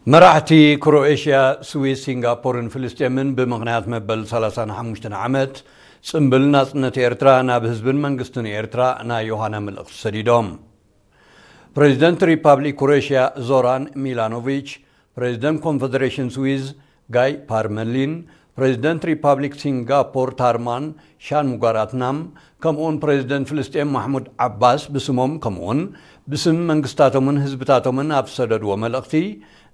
መራሕቲ ክሮኤሽያ፣ ስዊስ፣ ሲንጋፖርን ፍልስጤምን ብምኽንያት መበል ሰላሳን ሓሙሽተን ዓመት ጽምብል ናጽነት ኤርትራ ናብ ህዝብን መንግስትን ኤርትራ ናይ ዮሃና መልእኽቲ ሰዲዶም። ፕሬዚደንት ሪፓብሊክ ክሮኤሽያ ዞራን ሚላኖቪች፣ ፕሬዚደንት ኮንፈደሬሽን ስዊዝ ጋይ ፓርመሊን፣ ፕሬዚደንት ሪፓብሊክ ሲንጋፖር ታርማን ሻንሙጋራትናም፣ ከምኡውን ፕሬዚደንት ፍልስጤም ማሕሙድ ዓባስ ብስሞም ከምኡውን ብስም መንግስታቶምን ህዝብታቶምን ኣብ ዝሰደድዎ መልእኽቲ፣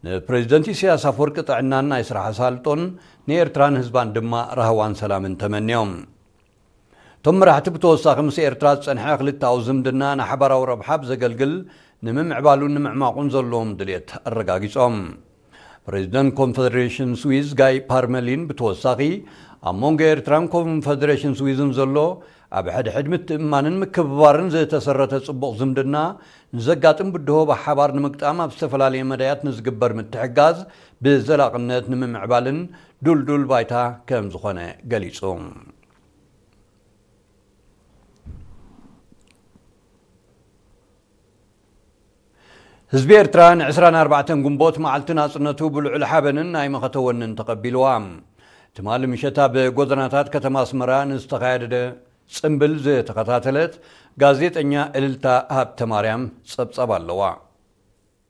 ንፕሬዚደንት ኢሳያስ ኣፈወርቂ ጥዕናን ናይ ስራሕ ኣሳልጦን፣ ንኤርትራን ህዝባን ድማ ራህዋን ሰላምን ተመንዮም። እቶም መራሕቲ ብተወሳኺ ምስ ኤርትራ ዝጸንሐ ክልተኣዊ ዝምድና ንሓባራዊ ረብሓ ብዘገልግል ንምምዕባሉን ንምዕማቑን ዘለዎም ድልየት ኣረጋጊጾም። ፕሬዚደንት ኮንፈደሬሽን ስዊዝ ጋይ ፓርመሊን ብተወሳኺ፣ ኣብ መንጎ ኤርትራን ኮንፈደሬሽን ስዊዝን ዘሎ ኣብ ሕድሕድ ምትእምማንን ምክብባርን ዝተሰረተ ጽቡቕ ዝምድና፣ ንዘጋጥም ብድሆ ብሓባር ንምግጣም ኣብ ዝተፈላለየ መዳያት ንዝግበር ምትሕጋዝ ብዘላቕነት ንምምዕባልን ድልዱል ባይታ ከም ዝኾነ ገሊጹ። ህዝቢ ኤርትራ ን ዕስራን ኣርባዕተን ግንቦት መዓልቲ ናጽነቱ ብልዑል ሓበንን ናይ መኸተ ወንን ተቐቢልዋ። ትማሊ ምሸት ኣብ ጎደናታት ከተማ ኣስመራ ንዝተኻየደ ጽምብል ዝተኸታተለት ጋዜጠኛ እልልታ ሃብተማርያም ጸብጻብ ኣለዋ።